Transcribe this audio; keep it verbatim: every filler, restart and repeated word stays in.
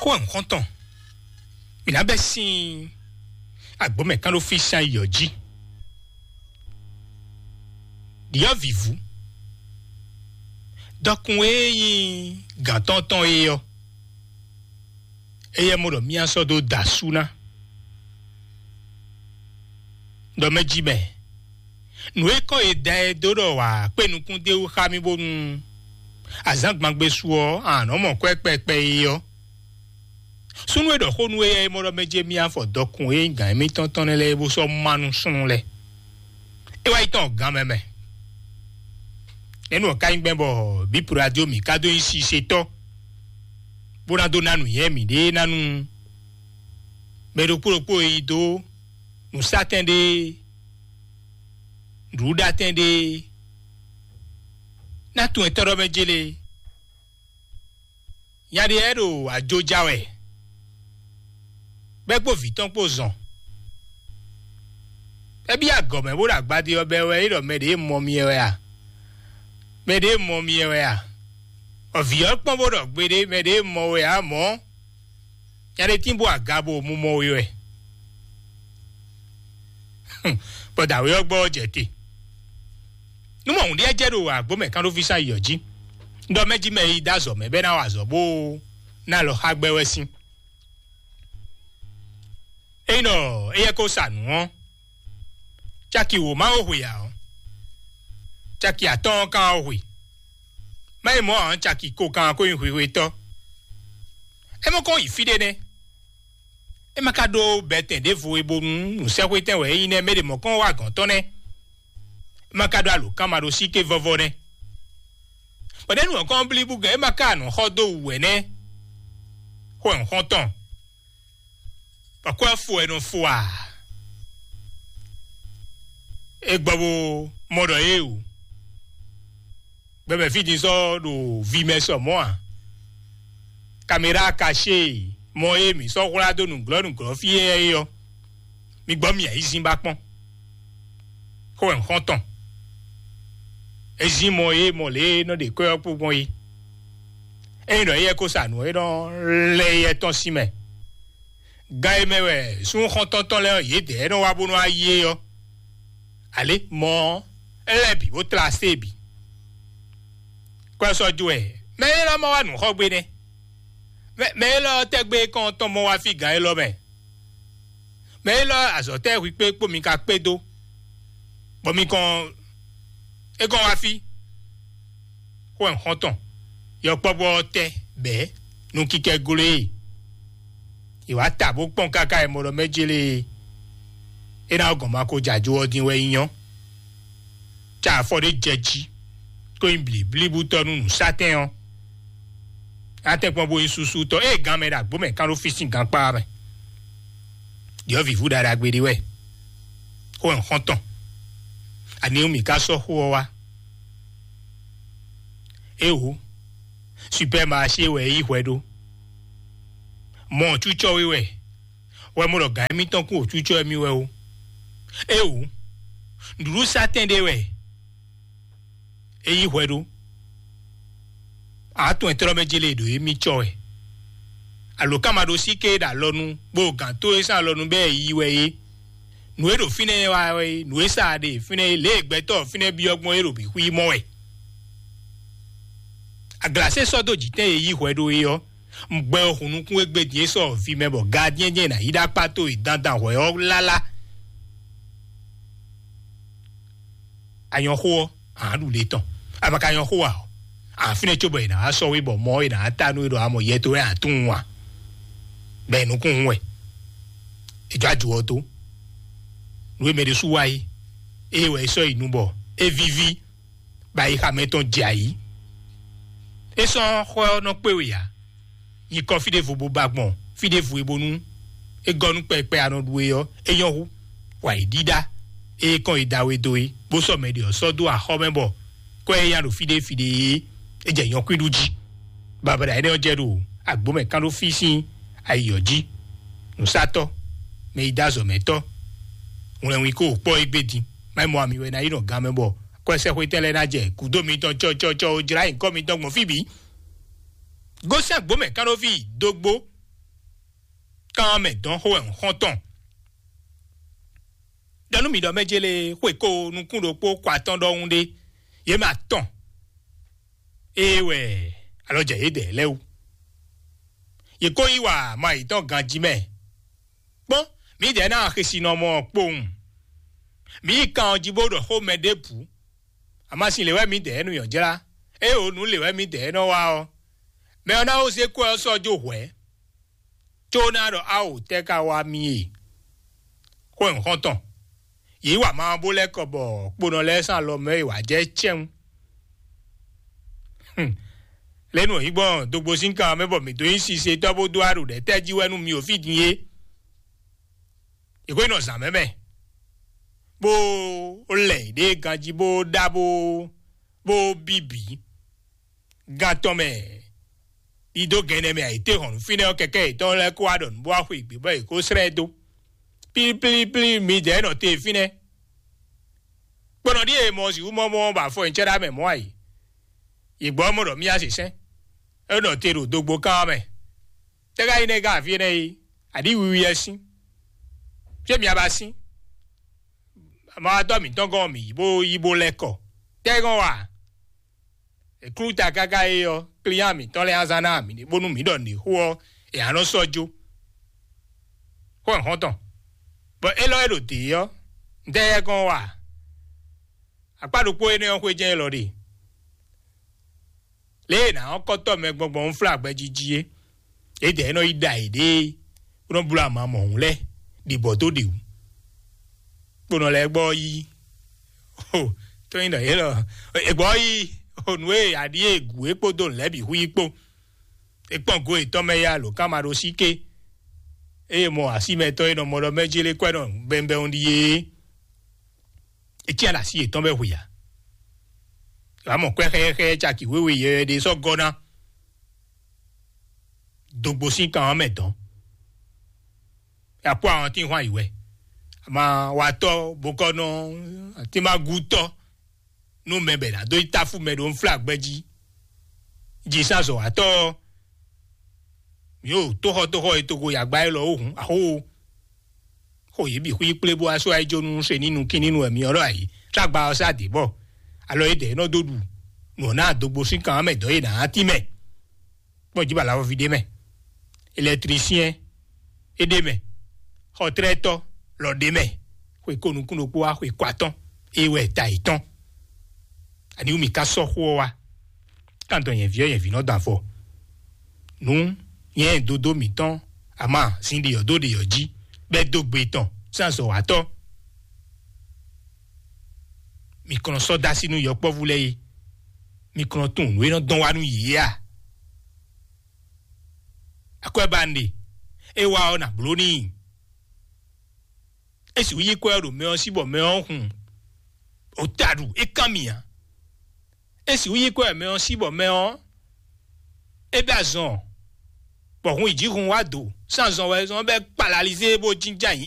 Kó wɛ nǔ xɔ́ntɔn, mǐ ná bɛ́ sín agbǒmɛ kán ɖó fí sín ayǐ ɔ́ jí. Ɖyɔ̌vǐvú, dɔkun e nyí gǎn tɔn tɔn é ɔ́, éyɛ́ mɔ ɖɔ mì sɔ́ dó da asú ná. Ɖɔ mɛ jí mɛ, nǔ e kɔn e da ɛ dó ɖɔ wǎ kpé nukún d'é wú xá mì bónú azǎn gbangbe su ɔ́, a nǎ nɔ mɔ kwɛ́ kpɛkpɛ é ɔ́. Súnnu e ɖɔ xó nú éyɛ́ é mɔ ɖɔ mɛ jɛ mì afɔ dɔkun e nyí gǎn émítɔn tɔn nɛ́ lɛ́ɛ é bó sɔ́ má nú súnnu lɛ́ɛ. É wá yi tɔn gǎn mɛ mɛ. Nɛ̌ nǔ ɔ́ ka nyí gbɛn bɔ bǐ Puladiyo mǐ ka dó nyí sisetɔ́, bó ná dó ná nǔnywɛ́ mǐɖée ná nú mɛ ɖokpó ɖokpó e yi dó nǔsátɛn ɖé, nǔɖuɖatɛn ɖé, ná tunwun etɔ́ ɖɔ mɛ jélé. Nya ɖé lɛ́ɛ ɖo ajo ja wɛ, bɔ é kpó vǐ tɔn kpó zɔn. É byɔ́ agɔ̌ mɛ bó ɖo agbadé ɔ́ bɛ́ wɛ é ɖɔ mɛ ɖě mɔ mi wɛ a? Mɛ ɖě mɔ mi wɛ a? Ɔ, vǐ ɔ́ kpɔ́n bó ɖɔ gbeɖé mɛ ɖě mɔ wɛ ǎ mɔ̌. Nya ɖé tín bó aga bo mu mɔ we wɛ. Bɔ dǎwe ɔ́ gbɔ ɔ́ jɛ te. Nú mɔ hǔn ɖíe jɛ ɖo agbǒ mɛ kán ɖó fí sán yi ɔ́ jí, ɖɔ mɛ jí mɛ e yi dó azɔ̌ mɛ bɔ é ná wa azɔ̌ bó ná alɔ xá gbɛ wɛ sín. Ényí ɖɔ éyɛ́ ko sa nǔ ɔ́, caki wǒ má ó hwe ǎ ɔ́, caki atɔ́ɔ́n kan ó hwe. Má yi mɔ̌ ǎ, caki ko kan ko nyí hwehwetɔ́. É mɔ kɔn yi fí ɖé nɛ́. É ma ka ɖó bɛtɛn ɖěvo e bónú nǔsɛxwétɛn wɛ é nyí nɛ́, mɛ ɖě mɔ̌ kɔn wá gɔ̌n tɔn nɛ́. É ma ka ɖó alǒkanmaɖósíké vɔvɔ nɛ́. Bɔ ɖěnu ɔ́ kɔn blíbú gɛ́ é ma ka nǔ xɔ dó wǔ wɛ nɛ́. Xó ɛ xɔ́ntɔn, bɔ kɔ́ ɛ fo ɛ nɔ fo a? É gbɔ bó mɔ ɖɔ é o. Gbɛmɛ fí din sɔ́ ɖo vi mɛ sɔ mɔ̌ a? Kamera kaṣé mɔ e mǐ sɔ́ hwlá dó nǔglɔ́ nǔglɔ́ fí é ɔ́, mi gbɔ mì ayizín ba kpɔ́n. Xó wɛ xɔ́ntɔn. É zín mɔ e mɔ lě e nɔ ɖe kwɛ́ ɔ́ kpó gbɔn é. Ényí ɖɔ éyɛ́ ko sa nǔ ɔ́, é nɔ lɛ́ éyɛ́ tɔn sín mɛ. Gan e mɛ wɛ súnnu xɔ́ntɔn tɔn lɛ́ɛ ɔ́, yědɛɛ nɔ wá bó nɔ́ wá yí é ɔ́, alě mɔ ɔ́, é lɛ́ bǐ bó tlá asé bǐ. Kɔ́ ɛ sɔ́ jó wɛ, mɛ élɔ́ mɔ wá nǔ xɔ gbé nɛ́. Mɛ mɛ élɔ́ tɛ́gbé kɔn tɔn mɔ wá fí gǎn élɔ́ mɛ. Mɛ élɔ́ azɔ̌ tɛ́ hwi kpé kpó mi ka kpé dó, bɔ mi kɔn é kɔn wá fí. Xó ɛ xɔ́ntɔn, yɔkpɔ́vú ɔ́ tɛ́ bɛ̌ nú kíkɛ́ gló e. È wǎ ta bó kpɔ́n káká e mɔ ɖɔ mɛ jélé e. É ná gɔn ma ko jɛ ajo ɔ́ din wɛ é nyɔ́. Ca afɔ ɖé jɛ jí, kó nyí blǐblíbútɔ́ nú nǔsátɛn ɔ́. Á tɛ́nkpɔ́n bó nyí súsútɔ́, ée gǎn mɛ ɖo agbǒ mɛ kán ɖó fí sín gankpá mɛ. Ɖyɔ̌vǐvú ɖaɖagbe ɖé wɛ. Xó ɛ xɔ́ntɔn. Ani mì ka sɔ́ xó ɔ́ wá? Éwo, supɛ́maṣé wɛ é yí hwɛ ɖó. Mɔ cúcɔ́ wé wɛ, wɛ mɔ ɖɔ gǎn émítɔn kún wǒ cúcɔ́ émí wɛ ó. Éwo, nǔɖuɖusátɛn ɖé wɛ é yí hwɛ ɖó. Atɔn e tlɔ́ mɛ jélé ɖo émí cɔ wɛ. Alǒkanmaɖósíké e ɖo alɔnu, kpó gǎn tó e sín alɔnu bɛ́ e yí wɛ é. Nǔ e ɖo fínɛ́ wá wɛ é, nǔ e sa ɖe fínɛ́ é, lě e gbɛtɔ́ fínɛ́ byɔ́ gbɔn é ɖo bǐ xwí mɔ wɛ. Aglasé sɔ́ dó jǐtɛn e yí hwɛ ɖó é ɔ́, gbɛ ɔ́ hun nukún égbé din é sɔ́ vi mɛ bɔ gadyɛ́n jɛ́n è nǎ yí ɖó akpá tó e dandan hwɛ ɔ́ lálá. A nyɔ́ xó ɔ́, a nǎ ɖu le tɔn. A ma ka nyɔ́ xó ǎ ɔ́, a fínɛ́ cóbɔ è nǎ wá sɔ́ we bɔ mɔ ɔ́ è nǎ wá ta nú we ɖɔ a mɔ yɛ towe a tunwun a? Bɔ è nukún hun wɛ. È jɔ ajo ɔ́ dó. Nǔ e mɛ ɖésú wa é, ée wɛ è sɔ́ yi nu bɔ é víví, bɔ ayixa mɛtɔn jɛ ayǐ. É sɔ́ xɔ ɔ́ nɔ kpé we ǎ. Nyikɔ fí ɖěvo bó ba gbɔn fí ɖěvo e bónú é gɔ́ nú kpɛkpɛ anɔ ɖu é ɔ́, é nyɔ́ hú. Wǎ yi ɖíɖá e kɔn yi da we dó é, bó sɔ́ mɛ ɖě ɔ́ sɔ́ dó axɔ́ mɛ bɔ kɔ́ e nya ɖo fí ɖé fí ɖé é, é jɛ nyɔ̌kwín ɖu jí. Babada énɛ́ ɔ́ jɛ ɖo agbǒ mɛ kán ɖó fí sín ayi ɔ́ jí. Nǔsatɔ́, mɛ yi dó azɔ̌ mɛ tɔ́, wlɛnwín kó kpɔ́ égbé din. Má yi mɔ ami wɛ ná yi nɔ gan mɛ bɔ kɔ́ ɛ sɛ́xwé tɛn lɛ́ɛ ná jɛ gǔdo mitɔn cɔcɔcɔ ó jlá nyǐkɔ mitɔn gbɔn fí bǐ. Gosɛ́n agbǒ mɛ kán ɖó fí dógbó. Kan mɛ dɔn xó wɛ un xɔ́n tɔn. Ɖɔ nú mi ɖɔ mɛ jélé xwe ko nukún ɖokpó kɔ atɔn ɖɔhun ɖé, yě mɛ atɔn ée wɛ alɔ jɛ yědɛɛ lɛ́ɛ wú. Yě ko yí wa ma yětɔn ganjí mɛ. Kpɔ́n, mǐdɛɛ ná xesinɔmɔ kpowun. Mǐ yi kan ɔ́ jí bó ɖɔ xó mɛ ɖěbǔ. Amasin lě wɛ mǐdɛɛ nɔ nyɔ̌ jlá, ée o nǔ lě wɛ mǐdɛɛ nɔ wa ɔ́, mɛ ɔ́ ná ó zé kwɛ́ ɔ́ sɔ́ jó hwɛ̌, có ná ɖɔ áwǒ tɛ́ ka wá mì e. Xó nyǐxɔ́ntɔn, yě yi wa ma ɔ́ bó lɛ́ kɔ bɔ kponɔ lɛ́ɛ sín alɔ mɛ e wǎ jɛ cɛ́n. Lě nu hǐngbɔn dogbo sín kan mɛ bɔ mǐ dó nyí sisetɔ́ bó dó aɖo ɖɛ̌ tɛ́ jí wɛ nú mi o fí din é. Yě ko nɔ zǎn mɛ mɛ, bó lɛ yě ɖe ganjí bó ɖá bó bó bíbí. Gan tɔn mɛ, ɖidó gɛnɛ mɛ ayǐtéhɔ̌nnu fínɛ́ ɔ́ kɛkɛ́ yětɔn lɛ́ɛ kó wá ɖɔ nǔ bó wá xwe gbě bɔ yě kó slɛ́ ɛ dó. Plíplíplí, midɛɛ nɔ te fínɛ́. Kponɔ ɖíe mɔ sixú mɔ mɔ bɔ afɔ nyicɛ́ ɖá mɛ mɔ̌ a yě. Yě gbɔ mɔ ɖɔ mía se sɛ́n. É nɔ te ɖo dogbo kán ɔ́ mɛ. Tɛ́ ka nyí nɛ́ ká afí énɛ́ é? Aɖǐ wiwi wɛ sín. Fí e mia ba sín? Amawatɔ́ mǐtɔn gɔ́n mǐ yi bó yi bó lɛ́ kɔ. Tɛ́ gɔ́n wa? È klú ta káká é ɔ́, klínyá mǐtɔn lɛ́ɛ azán ná mǐ ɖe bónú mǐ ɖɔ nǔɖé xó ɔ́, è nǎ nɔ sɔ́ jó. Xó nyǐxɔ́ntɔn. Bɔ élɔ́ e ɖo dě ɔ́, ntɛ́ yɛ gɔ́n wa? Akpá ɖokpó énɛ́ ɔ́ xwé jɛ́n élɔ́ ɖe. Lě e è nǎ ɔ́ kɔ́tɔ́ mɛ gbɔngbɔn ń flá gbɛjiji é, yědɛɛ nɔ yi ɖa yěɖée, bó nɔ bló ama mɔ̌hun lɛ́ɛ ɖi bɔ dó ɖe wǔ. Kponɔ lɛ́ɛ gbɔ yí, o, tó nyí ɖɔ yě lɔ, è gbɔ yí, o, nǔ e aɖí e gǔ é kpódó nǔ lɛ́ɛ bǐ hu yí kpó. É kpɔ́n go yětɔn mɛ yá lǒ ká ma ɖó sí ké. Eye mɔ asímɛtɔ́ e nɔ mɔ ɖɔ mɛ jélé kwɛ́ nɔ bɛnbɛn ɖíe é. Etí ala sí yětɔn bɛ hwe ǎ. Wǎ mɔ kwɛ́ xɛ́xɛ́ caki wěwe yɛyɛ ɖé sɔ́ gɔ́ ná. Dogbo sín kan ɔ́ mɛ dɔn. Akpó àwọn tí ń hwan yi wɛ. Ama watɔ bokɔnɔ atímagútɔ nú mɛ bɛ ná dó yi táfú mɛ ɖo nflá gbɛ jí. Jǐsázɔ́watɔ ɔ́, mǐ ɖo tóxɔtóxɔ e toxo yagba élɔ́ ó hǔn axó. Xo yě bǐ xwí kplé bó wá sɔ́ ayíjónú se ní nukín ní nu wɛ myɔ ɖɔ ayǐ. Tlagba ɔ́ sá dě bɔ alɔ yědɛɛ nɔ dó ɖu nǔ ɔ́ ná dogbo sín kan ɔ́ mɛ dɔ̌ yě nǎ tín mɛ. Kpɔ́n jí bɔ alafɔví ɖé mɛ, elɛtlisiɛn é ɖé mɛ, xɔtlɛ́tɔ́ lɔ ɖé mɛ, xwe ko nukún ɖokpó wá xwe ko atɔ́n, é wɛ ta yětɔn. Aniwú mi ka sɔ́ xó ɔ́ wá? Kántɔn nyɛ̌ví ɔ́ nyɛ̌ví nɔ dɔn afɔ. Nǔ nyɛ dodó mǐtɔn ama sin ɖeyɔ̌ dó ɖeyɔ̌ jí bɛ́ dó gbe tɔn sín azɔ̌watɔ́. Mi kɔn nɔ sɔ́ dó así nú yɔkpɔ́vú lɛ́ɛ é. Mi kɔn nɔ tunwun nǔ e nɔ dɔn wá nú yě é a? Akwɛ́ ba un ɖe, é wá ɔ́ nǎ bló n'i. É sixú yí kwɛ́ ɔ́ ɖo mɛ ɔ́ sí bɔ mɛ ɔ́ hun ota ɖu é kán mì ǎ. É sixú yí kwɛ́ mɛ ɔ́ sí bɔ mɛ ɔ́ é bɛ́ azɔn, bɔ hun yi jǐ hun wá do sín azɔn wɛ zɔn bɛ́ kpalalizé bó jínjɔ́n ayǐ.